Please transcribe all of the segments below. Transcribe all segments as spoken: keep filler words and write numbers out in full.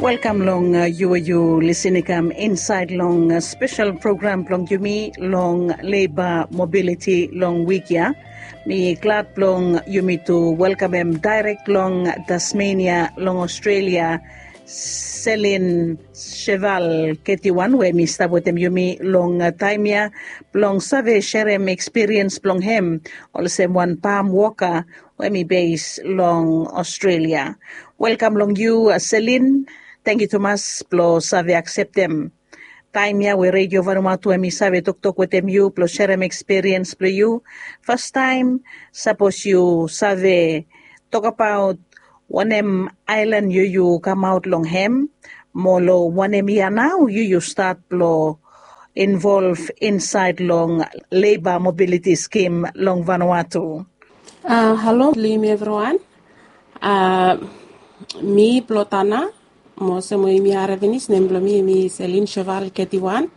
Welkam long yu we yu lisin i kam insaed long spesel program blong yumi long leba mobiliti long wik ya. Mi glad blong yumi tu welkamem daerek long Tasmenia long Australia, Selin Sheval Ketiwan we mi stap wetem yumi long taem ya blong save serem ekspiriens blong hem olsem wan pam woka we mi bes long Australia. Welkam long yu, Selin. Tangkiu tumas blong save akseptem taem ya we Redio Vanuatu em i save toktok wetem yu blong serem ekspiriens blong yu. Fastaem, sapos yu save tokabaot wanem aelan yu yu kamaot long hem, mo long wanem yia nao yu yu stat blong involv insaed long leba mobiliti skim long Vanuatu? Halo long yumi evriwan. Mi blong Tana, mo olsem we yumi harem finis, nem blong mi em i Selin Sheval Ketiwan.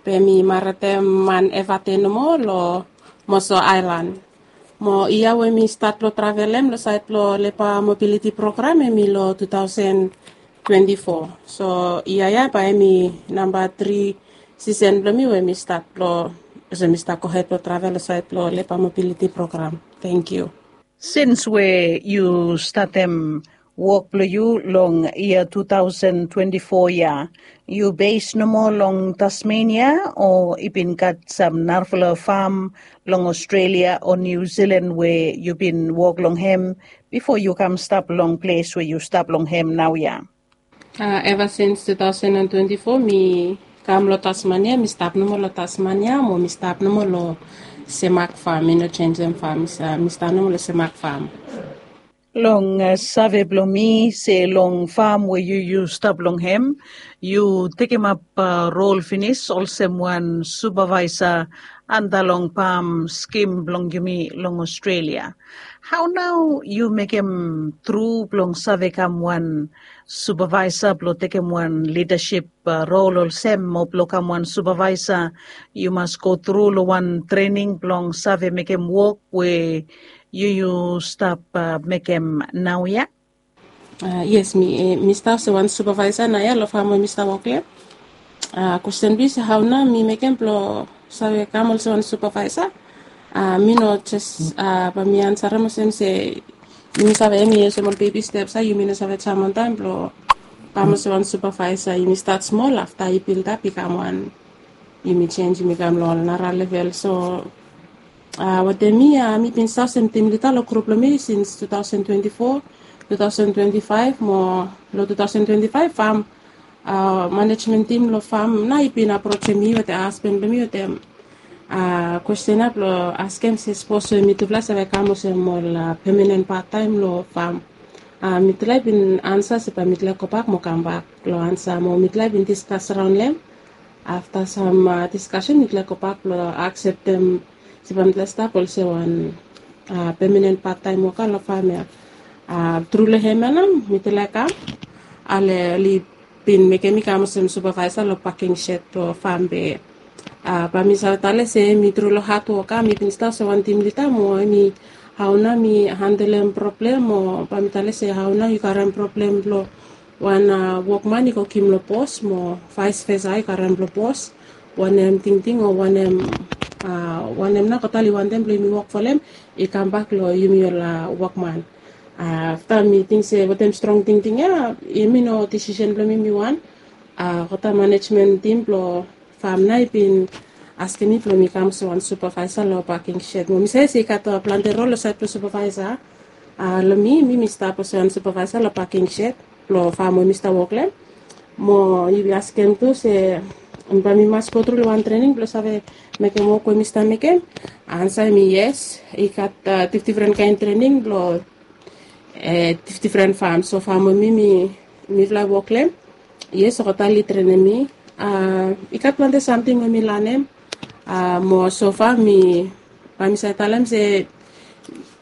Be mi maretem man Evate nomo long Moso Aelan. Mo yia we mi stat blong travelem long saed blong leba mobiliti program em i long tu taosen twenti fo. So yia ya bae em i namba tri sisen blong mi we mi stat blong, olsem mi stap gohed blong travel long saed blong leba mobiliti program. Tangkiu. Sins we yu statem wok blong yu long yia tu taosen twenti fo ya, yu bes nomo long Tasmenia o i bin gat sam narafala fam long Australia o Niu Silan we yu bin wok long hem bifo yu kam stap long ples we yu stap long hem naoia? Eva sins tu taosen twenti fo mi kam long Tasmania, mi stap nomo long Tasmania mo mi stap nomo long Semak fam. Mi no jenjem fam, mi stap nomo long Semak fam. Long save blong mi se long fam we yu yu stap long hem, yu tekemap rol finis olsem wan supavaesa anta long pam skim blong yumi long Australia. Hao nao yu mekem tru blong save kam wan supavaesa blong tekem wan lidasip rol olsem, mo blong kam wan supavaesa yu mas go tru long wan trening blong save mekem wok we yu yu stap mekem naoia? Yes, mi stap olsem wan supavaesa naoia long fam we mi stap wok long hem. Kwesten blong yu se hao nao mi mekem blong save kam olsem wan supavaesa. Mi no jes bae mi ansarem olsem se yumi save, em i olsem ol bebi steps ya, yumi no save jam wantaem blong kam olsem wan supavaesa. Yumi stat smol, afta i bildap i kam wan, yumi jenj, yumi kam long ol nara level. So wetem mi, mi bin stap olsem tim lida long grup blong mi sins tu taosen twenti fo, tu taosen twenti faef mo long tu taosen twenti faef fam manejmen tim long fam nao i bin aprojem mi wetem hasban blong mi wetem kwesten ya blong askem se sapos we mitufala save kam olsem ol pemanen pattaem long fam. Mitufala i bin ansa se bae mitufala i gobak mo kambak long ansa, mo mitufala i bin diskas raon long hem. Afta sam diskasen mitufala i gobak blong akseptem se bae mitufala i stap olsem wan pemanen pattaem woka long fam ya. Tru long hem ya nao mitufala i kam, ale oli bin mekem mi kam olsem supavaesa long paking shed blong fam. Be bae mi save talem se em i tru long hadwok ya, mi bin stap olsem wan tim lida mo em i hao nao mi handelem problem, mo bae mi talem se hao nao yu karem problem blong wan wokman i go givim long bos mo vaes vesa i karem blong bos, wanem tingting o wanem, wanem nao God oli wantem blong yumi wok folem i kambak long yumi ol wokman. Afta mi ting se wetem strong tingting ya, yumi no disisen blong mi mi wan. God manejmen tim blong fam nao i bin askem mi blong mi kam olsem wan supavaesa long paking shed. Mo mi save se i gat plante rol long saed blong supavaesa. Long mi, mi mi stap olsem wan supavaesa long paking shed blong fam we mi stap wok long hem. Mo yu askem tu se bae mi mas go tru long wan trening blong save mekem wok we mi stap mekem? Ansa em i yes. I gat difdifren kaen trening blong difdifren fam. So fam we mi, mi mifala wok long hem, yes, God oli trenem mi. I gat plante samting we mi lanem. Mo so fam mi, bae mi save talem se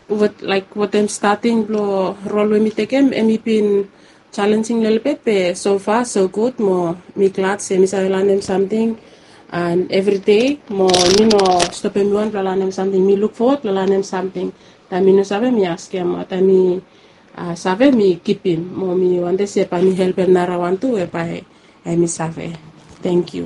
laek wetem stating blong rol we mi tekem, em i bin jalenjing lelebet, be so fa so gud, mo mi glad se mi save lanem samting evridei, mo mi no stopem mi wan blong lanem samting. Mi luk fowod blong lanem samting. Taem mi no save, mi askem, mo taem mi save mi kipim mo mi wantem se bae mi helpem narawan tu we bae hemi save. Tangkiu.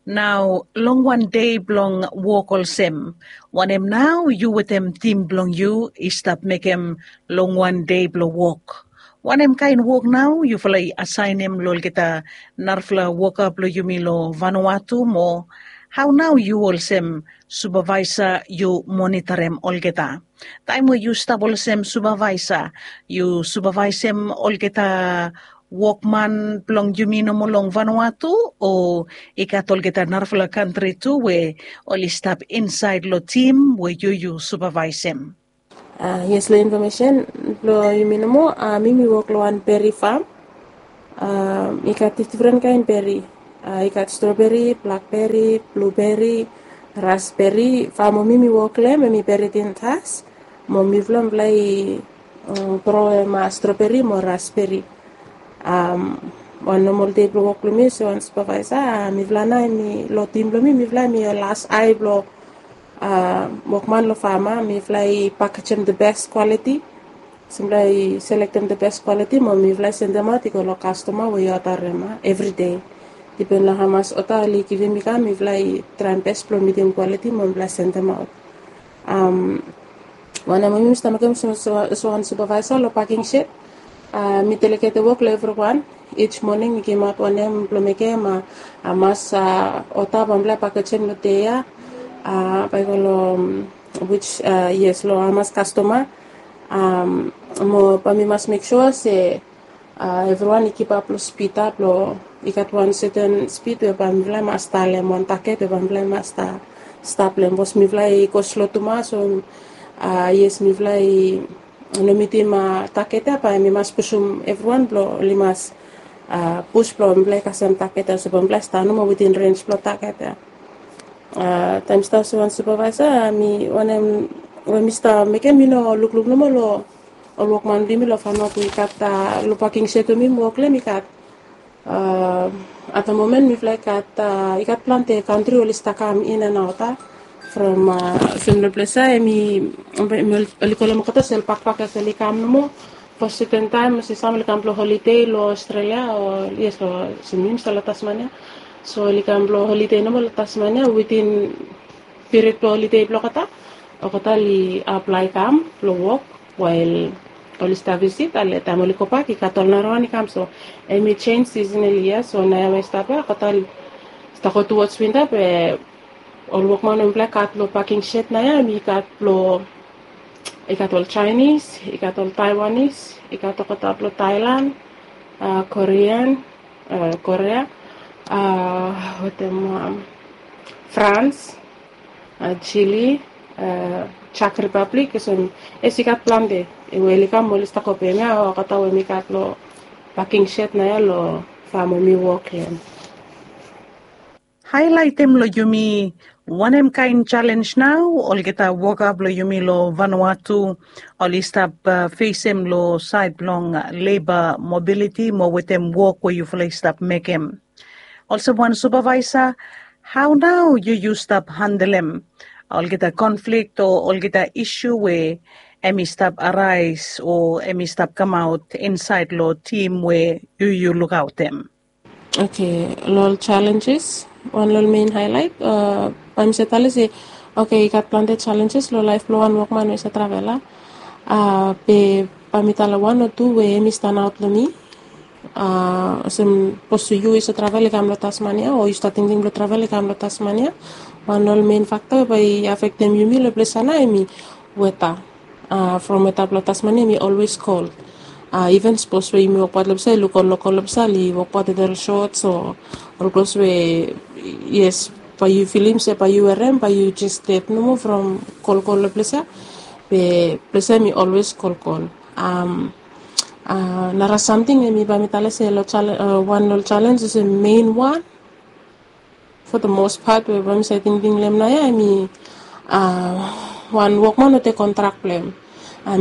Nao long wan dei blong wok olsem, wanem nao yu wetem tim blong yu i stap mekem long wan dei blong wok? Wanem kaen wok nao yufala i asaenem long olgeta narafala woka blong yumi long Vanuatu mo hao nao yu olsem supavaesa yu monitarim olgeta? Taem we yu stap olsem supavaesa, yu supavaesem olgeta wokman blong yumi nomo long Vanuatu, o i gat olgeta narafala kantri tu we oli stap insaed long tim we yu yu supavaesem? Yes, long infomesen blong yumi nomo, mi mi wok long wan beri fam. I gat difdifren kaen beri. I gat stroberi, blakberi, bluberi, rasberi. Fam we mi mi wok long hem hemi beri tintas. Mo mifala mifala i groem stroberi mo rasberi. Wan nomol dei blong wok blong mi olsem wan supavaesa, mifala nao hemi long tim blong mi, mifala hemi las ae blong wokman long fam. Mifala i pakejem the best quality. Mifala i selektem the best quality mo mifala i sendemaot i go long kastoma we i odarem evri dei. Dipen long hamas oda oli givim i kam, mifala i traem bes blong mitim quality mo mifala i sendemaot. Wanem we mi stap mekem olsem wan supavaesa long paking shed, mi delegete wok long evriwan. Each moning mi givimaot wanem blong mekem, hamas oda bae mifala i pakejem long dei ya, bae i go long, which, yes, long hamas kastoma. Mo bae mi mas mek sua se evriwan i kipap long spid ya blong i gat wan seten spid we bae mifala i mas talem, wan taget we bae mifala i mas stap long hem, bikos mifala i go slo tumas o, yes, mifala i no mitim taget ya, bae mi mas pusum evriwan blong oli mas pus blong mifala i kasem taget ya, so bae mifala i stap nomo witin rens blong taget ya. Taem mi stap olsem wan supavaesa, mi wanem we mi stap mekem, mi no lukluk nomo long ol wokman blong yumi long Vanuatu. I gat long paking shed we mi wok long hem, i gat at the moment mifala i gat, i gat plante kantri oli stap kam in and out ya. From olsem long ples ya hemi, oli kolem olgeta olsem bakpak ya, oli kam nomo for seten taem, olsem sam oli kam blong holide long Australia o, yes, long, olsem mi mi stap long Tasmania. So oli kam blong holide nomo long Tasmania, witin period blong holide blong olgeta, olgeta oli aplae kam blong wok wael oli stap visit, ale taem oli gobak i gat ol narawan i kam. So hemi jenis seasonally ya. So naoia we i stap ya, olgeta oli stap go towards winter, be ol wokman we mifala i gat long paking shed naoia hemi gat long, i gat ol Chinese, i gat ol Taiwanese, i gat olgeta blong Thailand, Korean, Korea, wetem France, Chile, Czech Republic, olsem, yes, i gat plante we oli kam, oli stap go pem ya olgeta we mi gat long paking shed naoia long fam we mi wok long hem. Haelaetem long yumi wanem kaen jalenj nao olgeta woka blong yumi long Vanuatu oli stap fesem long saed blong leba mobiliti mo wetem wok we yufala i stap mekem. Olsem wan supavaesa, hao nao yu yu stap handelem olgeta konflik o olgeta isu we hemi stap araes o hemi stap kamaot insaed long tim we yu yu lukaotem? Oke, long ol jalenjes, wan long ol mein haelaet, bae mi save talem se, oke, i gat plante jalenjes long laef blong wan wokman we i save travel ya. Be bae mi talem wan o tu we hemi standaot long mi. Olsem, sapos yu i save travel i kam long Tasmania o yu stap tingting blong travel i kam long Tasmania, wan long ol mein fakta we bae i afektem yumi long ples ya nao hemi weta. From weta blong Tasmania hemi olwes kol. Iven sapos we yumi wokbaot long ples ya, yu luk ol lokol long ples ya oli wokbaot wetem ol sots o ol klos we, yes, bae yu filim se bae yu werem bae yu jes ded nomo from kolkol long ples ya. Be ples ya hemi olwes kolkol. Nara samting hemi bae mi talem se long wan long ol jalenj olsem mein wan, for the most part we bae mi save tingting long hem naoia hemi wan wokman we tek kontrak blong hem.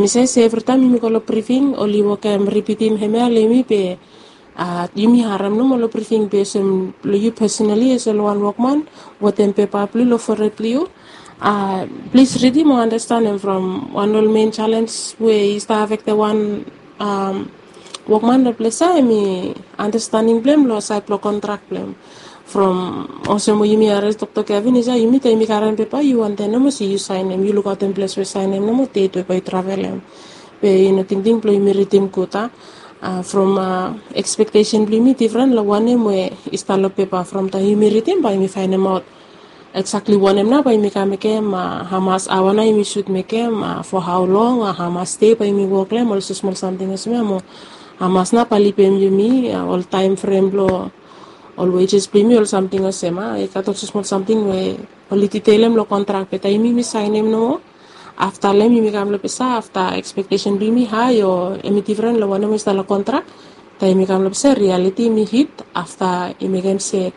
Mi save se evritaem yumi go long brifing oli wokem ripitim hemia long yumi, be yumi harem nomo long brifing, be olsem long yu pesonali olsem long wan wokman wetem pepa blong yu long fored blong yu, plis ridim o andastanem from wan long ol mein jalenj we i stap afektem wan Wokman long ples ya em i andastaning blong em long sait blong kontrak blong em. From olsem we yumi harim toktok ya finis ya, yumi taem yumi karem pepa yu wantem nomo se yu saenem, yu lukaotem ples we saenem nomo, det we bae yu travelem. Be yu no tingting blong yumi ridim gud a. From ekspektesen blong yumi difren long wanem we i stap long pepa. From taem yumi ridim bae yumi faenemaot eksakli wanem nao bae yumi kam mekem, hamas aoa nao yumi sud mekem, fo hao long, hamas dei bae yumi wok long em, ol smosmol samting olsem ya mo hamas nao bae lipim yumi, ol taem frem blong ol wejes blong yumi, ol samting olsem ya. I gat ol smosmol samting we oli diteilem long kontrak, be taem yumi saenem nomo, afta long em yumi kam long ples ya, afta ekspektesen blong yumi hae o em i difren long wanem we i stap long kontrak. Taem yumi kam long ples ya, rialiti yumi hit, afta i mekem se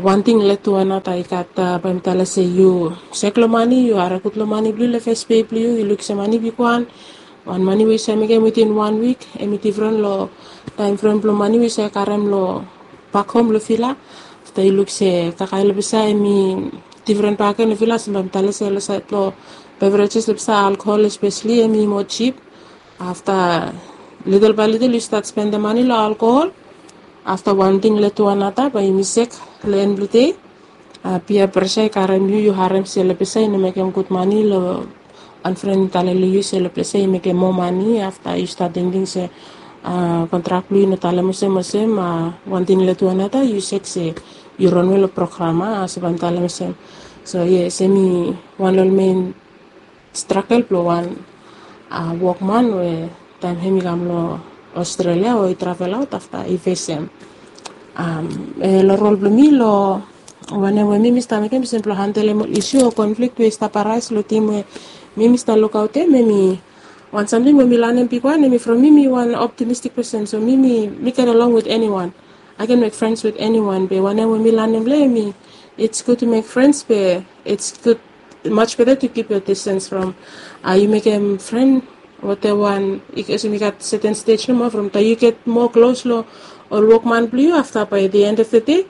wan ting led tu anata. I gat, bae mi talem se yu sek long mane, yu harim gud long mane blong yu long fes pei blong yu, yu luk se mane bigwan, wan mane we yu save mekem within wan wik em i difren long taem frem blong mane we yu save karem long bak hom long vila. Afta yu luk se kakae long ples ya em i difren bakegen long vila, olsem bae mi talem se long sait blong beverages long ples ya, alkohol espeseli em i moa jip. Afta litel bae litel yu stat spendem mane long alkohol. Afta wan ting led tu anata bae yumi sek long en blong dei. Pia presa i karem yu, yu harem se long ples ya i no mekem gud mane, long wan fren i talem long yu se long ples ya i mekem moa mane. Afta yu stat tingting se kontrak blong yu i no talem olsem olsem, wan ting led tu anata yu sek se yu ronwe long program, a olsem bae mi talem olsem. So yes, em i wan long ol men stragel blong wan wokman we taem hem i kam long Australia o i travel aot, afta i fesem long rol blong mi long wanem we mi mi stap mekem olsem blong handelem ol isu o konflik we i stap araes long tim we mi mi stap lukaotem. Em i wan samting we mi lanem bigwan, em i from mi mi wan optimistik pesen, so mi mi mi get along with anyone. I can make friends with anyone, be wanem we mi lanem long em i, it's good to make friends, be it's good, much better to keep your distance from, yu mekem fren wetem wan, olsem i gat seten stej nomo, from taem yu get moa klos long ol wokman blong yu, afta bae the end of the day,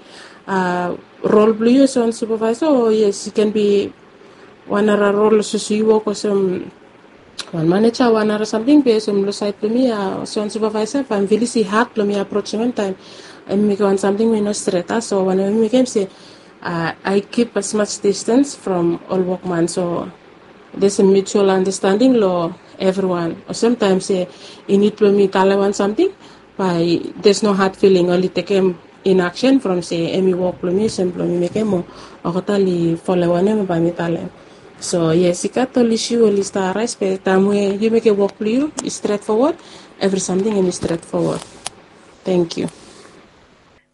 rol blong yu olsem wan supavaesa, o yes, i ken bi wan nara rol olsem yu wok olsem wan maneja, wan nara samting, be olsem long sait blong mi, olsem wan supavaesa, bae mi filis i had blong mi aprosem hem taem em i mekem wan samting we i no stret, a. So wanem we mi mekem se I keep as much distance from ol wokman, so there's a mutual understanding long evriwan. Olsem taem se i nid blong mi talem wan samting, bae there's no hard feeling, oli tekem in action from se em i wok blong mi, olsem blong mi mekem, o olgeta oli folem wanem bae mi talem. So yes, i gat ol isu oli stap araes, be taem we yu mekem wok blong yu i stret fowod, evri samting em i stret fowod. Tangkiu.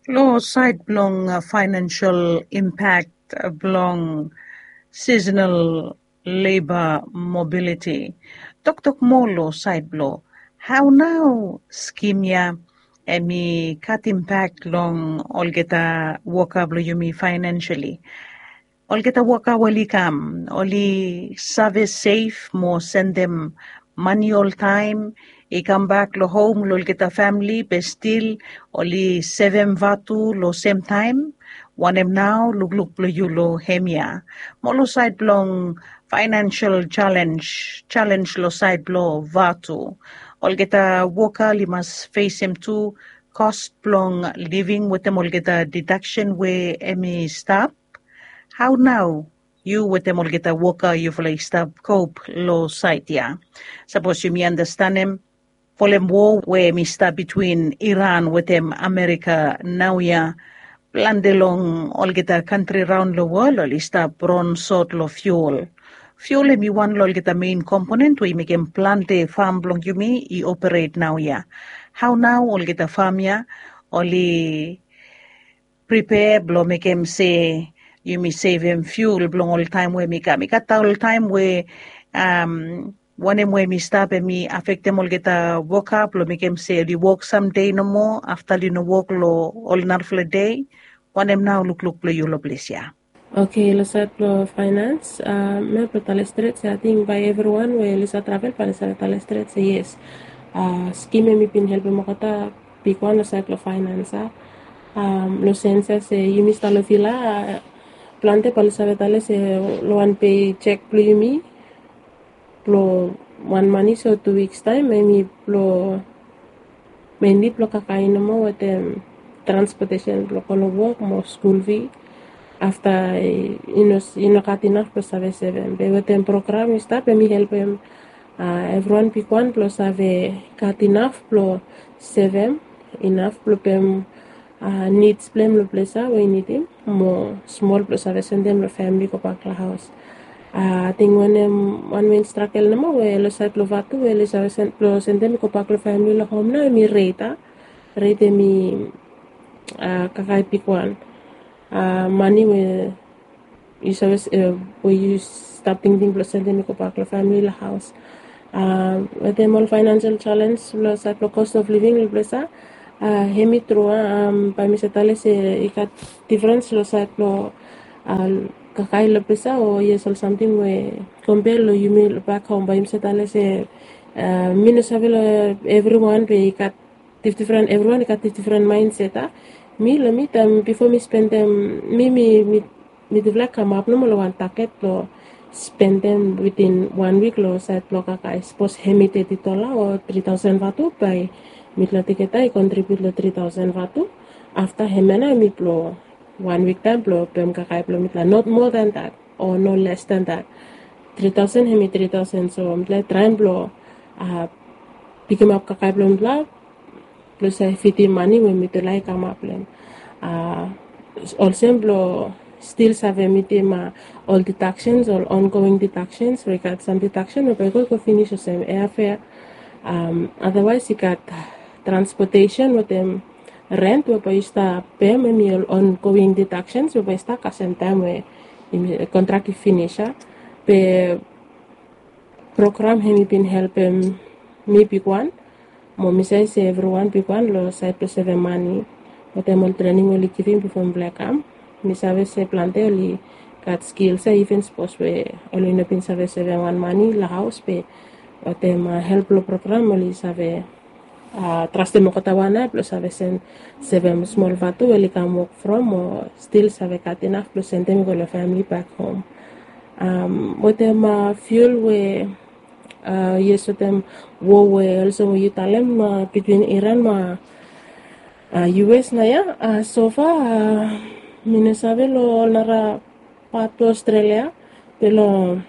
Long sait blong faenensel impak blong seasonal labor mobility, toktok moa long sait blong hao nao skim ya em i gat impak long olgeta woka blong yumi faenenseli. Olgeta woka we oli kam, oli save sev mo sendem mane oltaem, i kambak long hom long olgeta famle, be stil oli sevem vatu long semtaem. Wanem nao lukluk blong yu long hemia? Mo long sait blong faenensel jalenj, jalenj long sait blong vatu, olgeta woka oli mas fesem tu kos blong living wetem olgeta didaksen we em i stap. Hao nao yu wetem olgeta woka yufala i stap kop long sait ya? Sapos yumi andastanem, folem woa we em i stap bitwin Iran wetem Amerika naoia, plante long olgeta kantri raon long wol oli stap ronsot long fiul. Fiul em i wan long olgeta mein komponen we i mekem plante fam blong yumi i operet naoia. Hao nao olgeta fam ya oli pripea blong mekem se yumi sevem fiul blong ol taem we em i kam? I gat ol taem we wanem we em i stap em i afektem olgeta woka blong mekem se oli wok samdei nomo afta oli no wok long ol narafala dei. Wanem nao lukluk blong yu long ples ya? Oke, long sait blong faenans, mi blong talem stret se ating bae evriwan we oli save travel bae oli save talem stret se yes, skim em i bin helpem olgeta bigwan long sait blong faenans, a. Long sens ya se yumi stap long vila, plante bae oli save talem se long wan pei jek blong yumi blong wan manis o tu wiks taem, hemi blong, menli blong kakae nomo wetem transpotesen blong go long wok mo skul fi. Afta i no gat inaf blong save sevem, be wetem program i stap, hemi helpem evriwan bigwan blong save gat inaf blong sevem, inaf blong pem nids blong hem long ples ya we i nidim, mo smol blong save sendem long famili gobak long haos. Ating wanem, wan men stragel nomo we long saed blong Vatu we oli save blong sendem i gobak long famili long hom nao, hemi ret. Ret hemi kakae bigwan mane we yu save, we yu stap tingting blong sendem i gobak long famili long haos. Wetem ol faenansel jalens long saed blong cost of living long ples ya, hemi tru. Bae mi save talem se i gat difrens long saed blong kakae long ples ya, o yes, ol samting we kompea long yumi long bak hom, bae yumi save talem se mi no save long evriwan, be i gat difdifren, evriwan i gat difdifren maenset. Mi long mi taem bifo mi spendem, mi mi mitufala i kamap nomo long wan taget blong spendem witin wan wik long saed blong kakae. Sapos hemi teti dola o tri taosen Vatu, bae mitufala tugeta i kontribiut long tri taosen Vatu. Afta hemia nao hemi blong wan wik taem blong pem kakae blong mitufala, not more than that o no less than that. Tri taosen hemi tri taosen, so mitufala i traem blong pikimap kakae blong mitufala blong save fidim mane we mitufala i kamap long hem. Olsem blong stil save mitim ol didaksens, ol ongoing didaksens, we i gat sam didaksen we bae i go i go finis, olsem airfare. Adawaes i gat transpotesen wetem rent we bae yu stap pem, hemi ol ongoing didaksens we bae i stap kasem taem we kontrak i finis ya. Be program hemi bin helpem mi bigwan, mo mi save se evriwan bigwan long saed blong sevem mane. Wetem ol trening we oli givim bifo mifala i kam, mi save se plante oli gat skils ya, iven sapos we oli no bin save sevem wan mane long haos, be wetem help blong program oli save trastem olgeta wan ya blong save sevem smol Vatu we oli kam wok from, o stil save gat inaf blong sendem i go long famili bak hom. Wetem fiul we, yes, wetem wo we olsem we yu talem bitwin Iran mo US naoia, sofa mi no save long ol nara pat blong Australia. Be long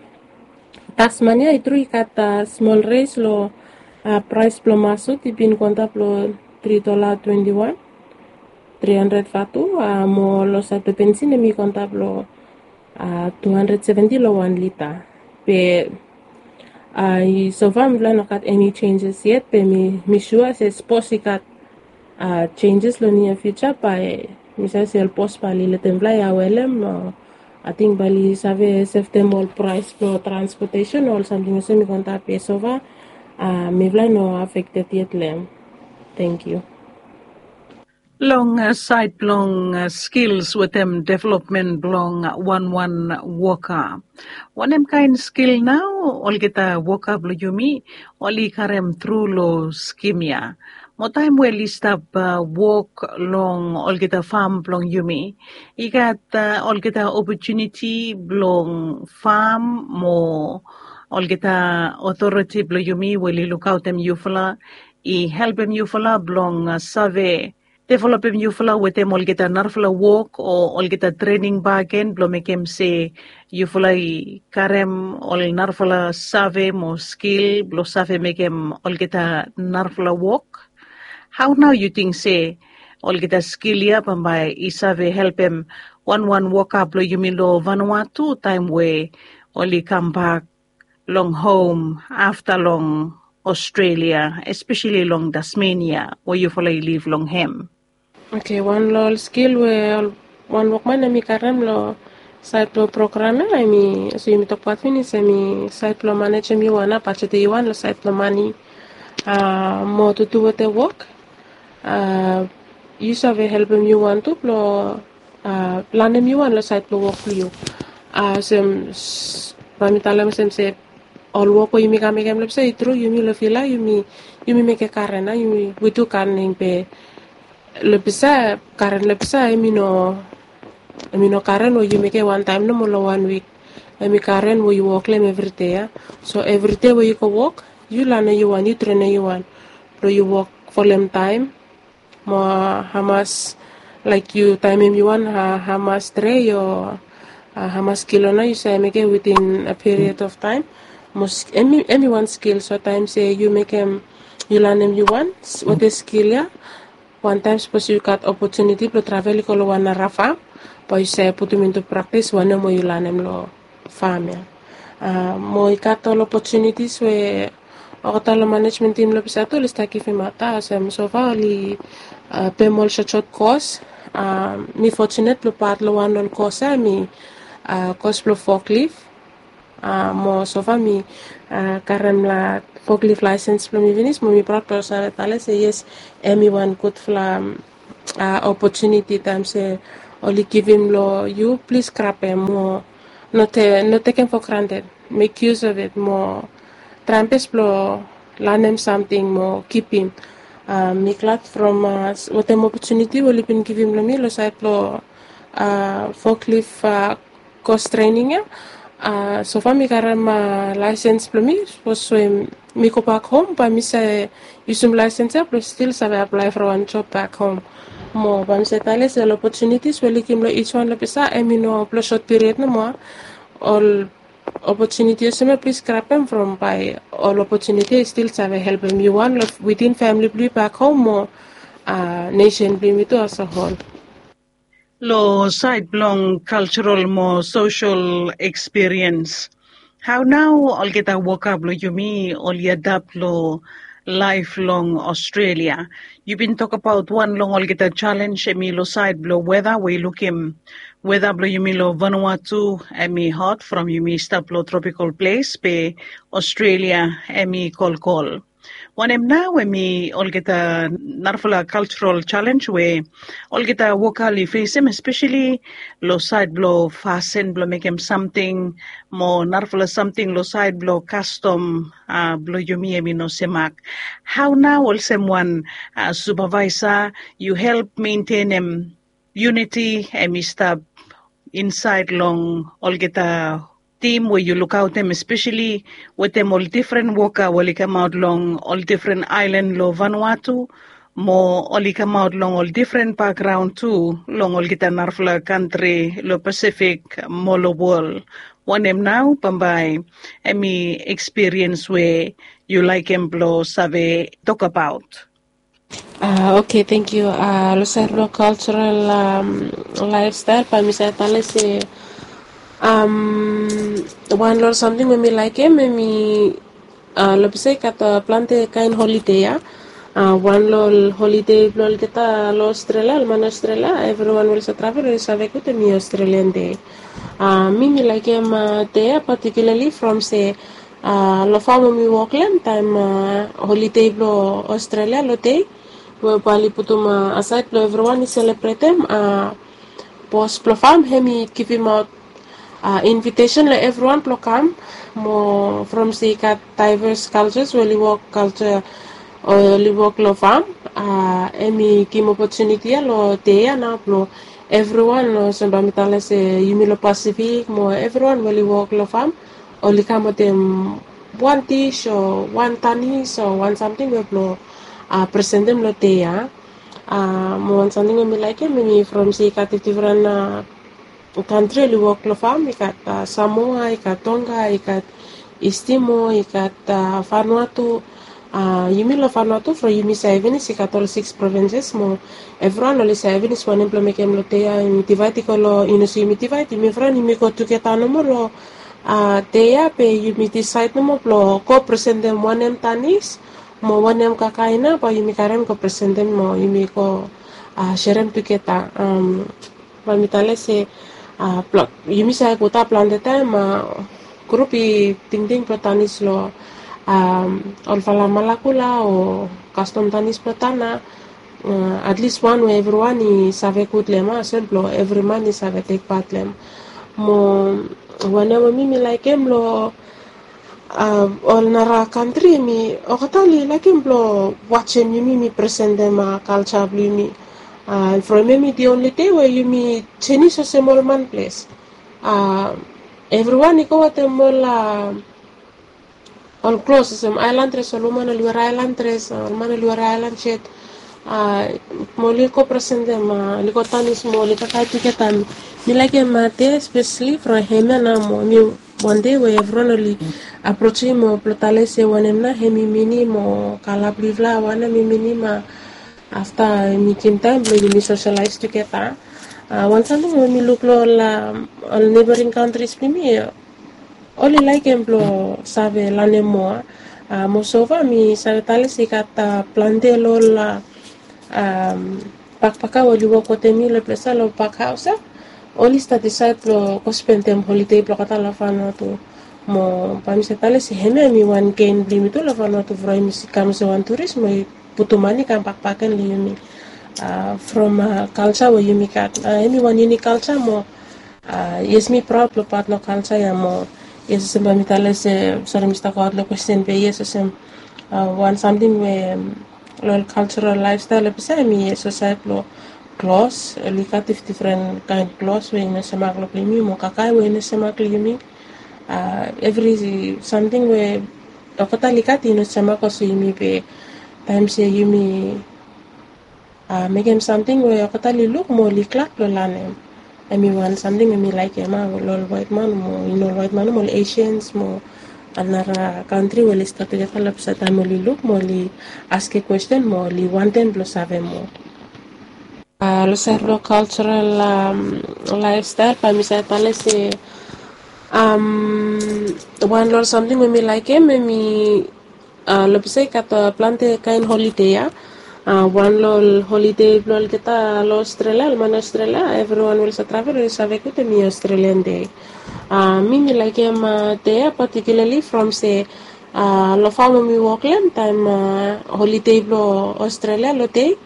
Tasmania i tru i gat smol res long praes blong masut, i bin go antap long tri dola twenti wan, tri handred Vatu, mo long saed blong bensin hemi go antap long tu handred seventi long wan lita. Be sofa mifala i no gat eni jenjes yet, be mi sua se sapos i gat jenjes long nia fiuja, bae mi save se ol bos bae oli letem mifala i avelem. Ating bae oli save sevtem ol praes blong transpotesen o ol samting olsem i go antap, be sofa mifala i no afekted yet long hem. Tangkiu. Long saed blong skils wetem developmen blong wanwan woka, wanem kaen skil nao olgeta woka blong yumi oli karem tru long skim ya? Mo taem we oli stap wok long olgeta fam blong yumi, i gat olgeta opotuniti blong fam mo olgeta otoriti blong yumi we oli lukaotem yufala, i helpem yufala blong save developem yufala wetem olgeta narafala wok o olgeta trening bakegen blong mekem se yufala i karem ol narafala save mo skil blong save mekem olgeta narafala wok. Hao nao yu ting se olgeta skil ya bambae i save helpem wanwan woka blong yumi long Vanuatu taem we oli kambak long hom afta long Australia, espeseli long Tasmania we yufala i liv long hem? Oke, wan long ol skil we wan wokman hemi karem long saed blong program ya, hemi, olsem yumi tokbaot finis, hemi saed blong manejem yu wan, bajetem yu wan long saed blong mane. Mo tutu wetem wok, yu save helpem yu wan tu blong lanem yu wan long saed blong wok blong yu. Olsem, bae mi talem olsem se ol wok we yumi kam mekem long ples ya, i tru yumi long fil ya yumi mekem karen, yumi, wi tu gat ning, be long ples ya, karen long ples ya hemi no, hemi no karen we yu mekem wantaem nomo long wan wik. Em i karen we yu wok long em evri dei ya. So evri dei we yu go wok, yu lanem yu wan, yu trenem yu wan blong yu wok folem taem, mo hamas laik yu taemem yu wan, hamas dre yo, hamas kilo nao yu save mekem witin a period of taem. Mo em i wan skil. So taem se yu mekem, yu lanem yu wan wetem skil ya, wantaem sapos yu gat opotuniti blong travel i go long wan nara fam, bae yu save putum intu praktis wanem we yu lanem long fam ya. Mo i gat ol opotunitis we olgeta long manejmen tim long pisa tu oli stap givimaot ya olsem sofa oli pem ol sotsot kos. Mi fotunet blong pat long wan ol kos ya em i kos blong foklif. Mo sofa mi karem la foklif laesens blong mi finis mo mi praod blong save talem se yes, em i wan gudfala opotuniti taem se oli givim long yu, plis grabem mo no tekem fo granted. Mek yus of it mo traem bes blong lanem samting mo kipim. Mi glad from wetem opotuniti we oli bin givim long mi long saed blong foklif kos trening ya. Sofa mi karem laesens blong mi sapos we mi gobak hom bae mi save yusum laesens ya blong stil save aplae from wan job bak hom. Mo bae mi save talem se ol opotunitis we oli givim long ij wan long pisa em i no blong sot piriod nomo. Ol opotuniti olsem ya plis grabem from bae ol opotuniti ya i stil save helpem yu wan long witin famili blong yu bak hom mo nesen blong yumi tu asehol. Long saed blong kalserol mo sosel ekspiriens, hao nao olgeta woka blong yumi oli adap long laef long Australia? Yu bin tokbaot wan long olgeta jalenj em i long saed blong weta we i lukim weta blong yumi long Vanuatu em i hot from yumi stap long tropikal ples be Australia em i kolkol. Wanem nao em i olgeta narafala kalserol jalenj we olgeta woka oli fesem espeseli long saed blong fasin blong mekem samting mo narafala samting long saed blong kastom blong yumi em i no semak. Hao nao olsem wan supavaesa yu help mentenem yuniti em i stap insaed long olgeta tim we yu lukaotem espeseli wetem ol difren woka we oli kamaot long ol difren aelan long Vanuatu mo oli kamaot long ol difren bakgraon tu long olgeta narafala kantri long Pasifik mo long wol? Wanem nao bambae em i ekspiriens we yu laekem blong save tokbaot? Oke, tangkiu. Long saed blong kalserol laefstael bae mi save talem se wan long ol samting we mi laekem em i long pisa i gat plante kaen holide ya. Wan long ol holide blong olgeta long Australia, ol man Australia, evriwan we oli save travel oli save gud em i Australian Day. Mi mi laekem dei ya patikiulali from se long fam we mi wok long em taem holide blong Australia long dei we bae oli putum asaed blong evriwan i selebretem, bos blong fam hem i givimaot invitesen long evriwan blong kam. Mo from se i gat daeves kalses we oli wok kalsa o oli wok long fam, hem i givim opotuniti ya long dei ya nao blong evriwan, olsem bae mi talem se yumi long Pasifik mo evriwan we oli wok long fam oli kam wetem wan dis o wan tanis o wan samting we blong presentem long dei ya. Mo wan samting we mi laekem em i from se i gat difdifren kantri oli wok long fam, i gat Samoa, i gat Tonga, i gat Istimo, i gat Vanuatu. Yumi long Vanuatu from yumi save finis i gat ol sikis provinses mo evriwan oli save finis wanem blong mekem long dei ya. Yumi divaed i go long, i no se yumi divaed, yumi evriwan yumi go tugeta nomo long dei ya be yumi disaed nomo blong go presentem wanem tanis mo wanem kakaena bae yumi karem go presentem mo yumi go serem tugeta. Bae mi talem se yumi save gutap plante taem grup i tingting blong tanis long olfala malakula o kastom tanis blong tana. Atlis wan we evriwan i save gud long em, olsem blong evri man i save tekpat long em. Mo wanem we mi mi laekem long ol nara kantri mi olgeta oli laekem blong wajem yumi mi presentem kalsa blong yumi. From hem i di onli dei we yumi jenis olsem ol man ples. evriwan i go wetem ol ol klos olsem ailan dres, ol woman oli were ailan dres, ol man oli were ailan set. Mo oli go present em, oli go tanis mo oli kakae tugeta. Mi laik em, de spesali from hemia nao mo mi wan de we evriwan oli aprosim mo blong tale se wanem nao hem i minim o kala blong yufala wanem i minim. Afta mi givim taem blong yumi sosalais tugeta. Wan samting we mi luk long ol neboring kantris blong yumi, oli laekem blong save lanem moa. Mo sofa mi save tale se i gat plante long ol bakbaka we oli wok wetem mi long ples ya long bakhaos ya, oli stat disaed blong go spendem holide blong olgeta long Vanuatu. Mo bae mi save tale se hemia hem i wan gen blong yumi tu long Vanuatu from yumi kam olsem wan turis mo i putum mane i kam bakbak gen long yumi. From kalsa we yumi gat, hem i wan yunik kalsa mo yes, mi praod blong pat long kalsa ya mo yes, olsem bae mi tale se, sori, mi stap goaot long kwesten be yes, olsem wan samting we long ol kalsaral laefstael long ples ya hem i yes, olsem saed blong klos, oli gat difdifren kaen klos we i no semak long blong yumi mo kakae we i no semak long yumi. Evri samting we olgeta oli gat i no semak olsem yumi be taem se yumi mekem samting we olgeta oli luk mo oli glad blong lanem. Hem i wan samting we mi laekem long ol waetman mo i no ol waetman mo ol Asians mo ol nara kantri we oli stap tugeta long ples ya taem oli luk mo oli askem kwesten mo oli wantem blong save moa. Long saed blong kalsaral laefstael bae mi save tale se wan long ol samting we mi laekem hem i long ples ya i gat plante kaen holide ya. Wan long ol holide blong olgeta long Australia, ol man Australia, evriwan we oli save travel oli save gud hem i Australian Day. Mi mi laekem dei ya patikiulali from se long fam we mi wok long hem taem holide blong Australia long dei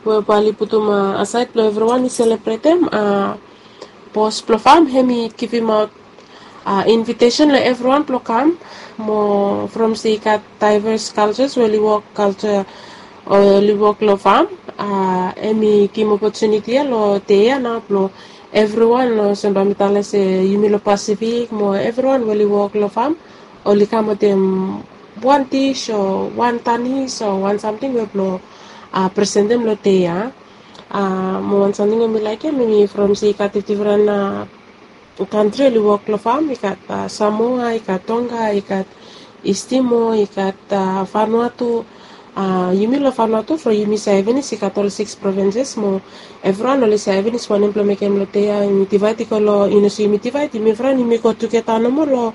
we bae oli putum asaed blong evriwan i selebretem. Bos blong fam hem i givimaot invitesen long evriwan blong kam mo from se i gat daeves kalsas we oli wok kalsa o oli wok long fam. Hem i givim opotuniti ya long dei ya nao blong evriwan, olsem bae mi tale se yumi long Pasifik mo evriwan we oli wok long fam oli kam wetem wan dis o wan tanis o wan samting we blong presentem long dei ya. Mo wan samting we mi laekem hem i from se i gat difdifren kantri oli wok long fam, i gat Samoa, i gat Tonga, i gat Istimo, i gat Vanuatu. Yumi long Vanuatu from yumi save finis i gat ol sikis provinses mo evriwan oli save finis wanem blong mekem long dei ya yumi divaed i go long, i no se yumi divaed, yumi evriwan yumi go tugeta nomo long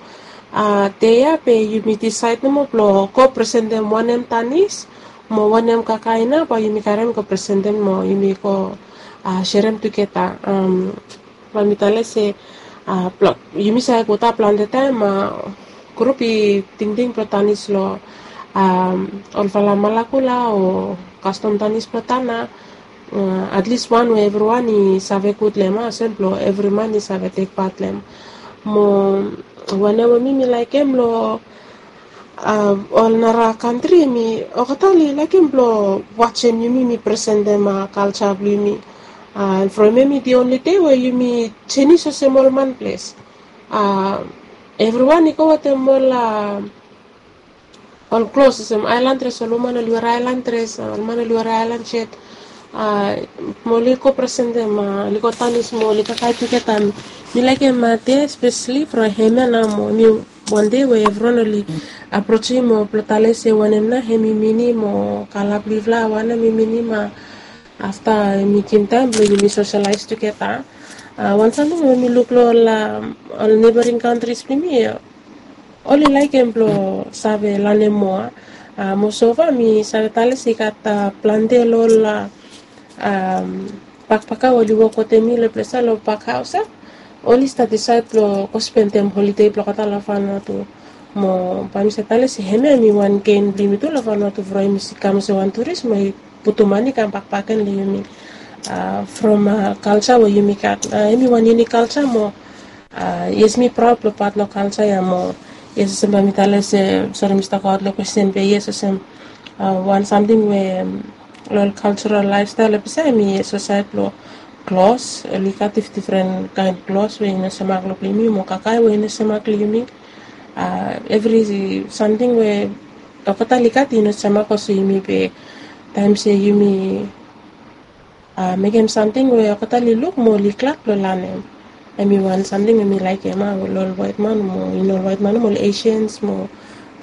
dei ya be yumi disaed nomo blong go presentem wanem tanis mo wanem kakae nao bae yumi karem go presentem mo yumi go serem tugeta. Bae mi tale se yumi save gud plante taem grup i tingting blong tanis long olfala malakula o kastom tanis blong tana. Atlis wan we evriwan i save gud long hem, olsem blong evri man i save tek pat long hem. Mo wanem we mi mi laekem long ol nara kantri hem i olgeta oli laekem blong wajem yumi mi presentem kalsa blong yumi. From hem i di onli dei we yumi jenis olsem ol man ples. Evriwan i go wetem ol ol klos olsem ailan dres, ol woman oli were ailan dres, ol man oli were ailan set. Mo oli go presentem, oli go tanis mo oli kakae tugeta. Mi laekem de spesali from hemia nao mo hem i wan dei we evriwan oli aprosim mo blong tale se wanem nao hem i minim o kala blong yufala wanem i minim. Afta hem i givim taem blong yumi sosalais tugeta. Wan samting we mi luk long ol neboring kantris blong yumi, oli laekem blong save lanem moa. Mo sofa mi save tale se i gat plante long ol bakbaka we oli wok wetem mi long ples ya long bakhaos ya, oli stat disaed blong go spendem holide blong olgeta long Vanuatu. Mo bae mi save tale se hemia hem i wan gen blong yumi tu long Vanuatu from yumi kam olsem wan turis mo i putum mane i kam bakbak gen long yumi. From kalsa we yumi gat, hem i wan yunik kalsa mo yes, mi praod blong pat long kalsa ya mo yes, olsem bae mi tale se, sori, mi stap goaot long kwesten be yes, olsem wan samting we long ol kalsaral laefstael long ples ya hem i yes, olsem saed blong klos, oli gat difdifren kaen klos we i no semak long yumi, mo kakae we i no semak long yumi. Evri samting we olgeta oli gat i no semak olsem yumi be taem se yumi mekem samting we olgeta oli luk mo oli glad blong lanem. Em i wan samting we mi laekem a, long ol waetman mo i no ol waetman mo ol Asians mo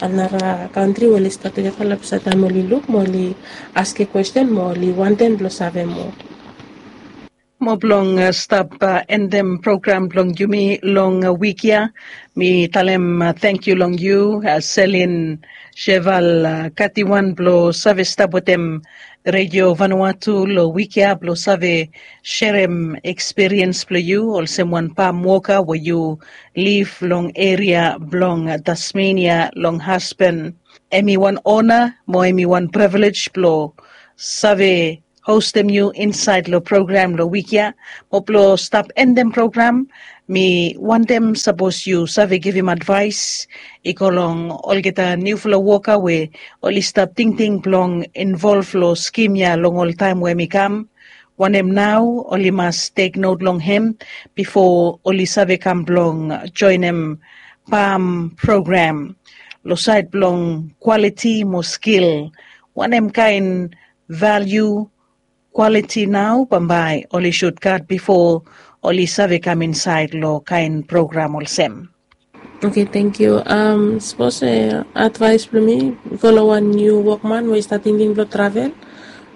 anara kantri we oli stap tugeta long ples ia taem oli luk mo oli askem kwesten mo oli wantem blong save moa. Mo blong stap endem program blong yumi long wik ya, mi talem tangkiu long yu, Selin Sheval Katiwan, blong save stap wetem Redio Vanuatu long wik ya blong save serem ekspiriens blong yu olsem wan pam woka we yu liv long eria blong Tasmenia long Aspen. Em i wan ona mo em i wan privilej blong save hostem yu insaed long program long wik ya. Mo blong stap endem program, mi wantem sapos yu save givim advaes i go long olgeta niufala woka we oli stap tingting blong involv long skim ya long ol taem we mi kam, wanem nao oli mas teknot long hem bifo oli save kam blong joenem pam program? Long saed blong kwaliti mo skil, wanem kaen valiu kwaliti nao bambae oli sud gat bifo oli save kam insaed long kaen program olsem? Oke, tangkiu. Sapos advaes blong mi i go long wan niu wokman we i stap tingting blong travel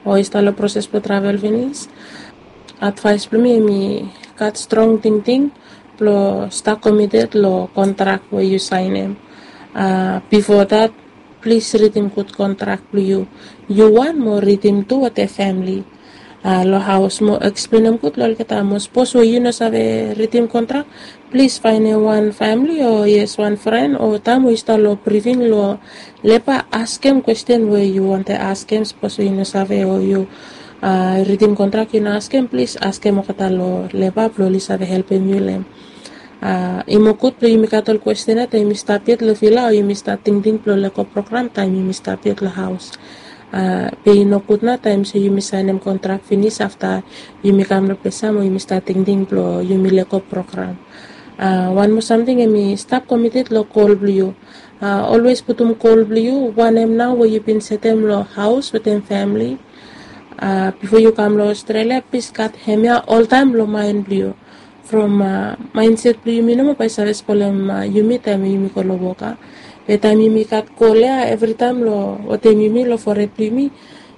o i stap long proses blong travel finis, advaes blong mi em i gat strong tingting blong stap komited long kontrak we yu saenem. Bifo dat, plis ridim gud kontrak blong yu, yu wan mo ridim tu wetem famili long haos mo eksplenem gud long olgeta. Mo sapos we yu no save ridim kontrak, plis faenem wan famili o yes wan fren o taem we yu stap long briving long leba, askem kwesten we yu wantem askem. Sapos we yu no save o yu ridim kontrak yu no askem, plis askem olgeta long leba blong oli save helpem yu long em. I moa gud blong yumi gat ol kwesten ya taem yumi stap yet long vila o yumi stap tingting blong lego program taem yumi stap yet long haos. Be i no gud nao taem se yumi saenem kontrak finis afta yumi kam long ples ya mo yumi stap tingting blong yumi lego program. Wan moa samting, em i stap komited long gol blong yu. Olwes putum gol blong yu, wanem nao we yu bin setem long haos wetem famili bifo yu kam long Australia, plis gat hemia oltaem long maen blong yu. From maenset blong yumi nomo bae i save spolem yumi taem yumi go long wok a. Be taem yumi gat gol ya evritaem long wetem yumi long fored blong yumi,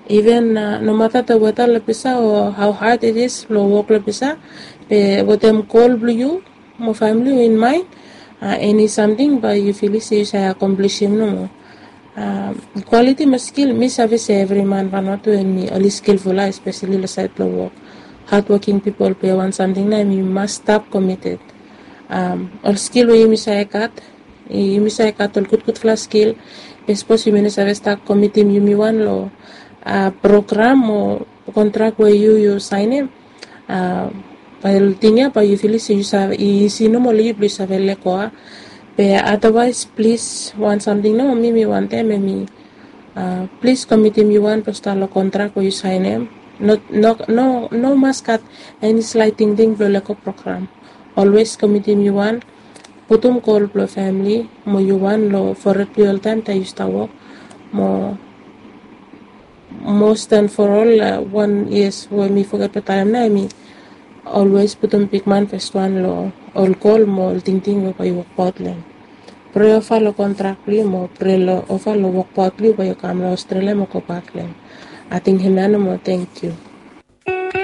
iven nomata the weta long ples ya o how hard it is blong wok long ples ya, be wetem gol blong yu mo famili yu in maen, eni samting bae yu filim se yu save akomplisim nomo. Kwaliti mo skil, mi save se evri man Vanuatu em i oli skilful a, espeseli long saed blong wok. Hadwoking pipol, be wan samting nao em i mas stap komited. Ol skil we yumi save gat, yumi save gat ol gudgudfala skil. Be sapos yumi no save stap komitim yumi wan long program o kontrak we yu yu saenem, bae ol ting ya bae yu filim se yu save, i isi nomo long yu blong yu save lego a. Be adawaes plis, wan samting nomo mi mi wantem em i plis komitim yu wan blong stap long kontrak we yu saenem. No, no, no mas gat eni slae tingting blong lego program. Olwes komitim yu wan, putum gol blong famili mo yu wan long fored blong yu oltaem taem yu stap wok. Mo mos dan for ol wan yes we mi foget blong talem nao em i olwes putum bigman fes wan long ol gol mo ol tingting we bae yu wokbaot long em. Prea ova long kontrak blong yu mo prea ova long wokbaot blong yu bae yu kam long Australia mo gobak long em. Ating hemia nomo, tangkiu.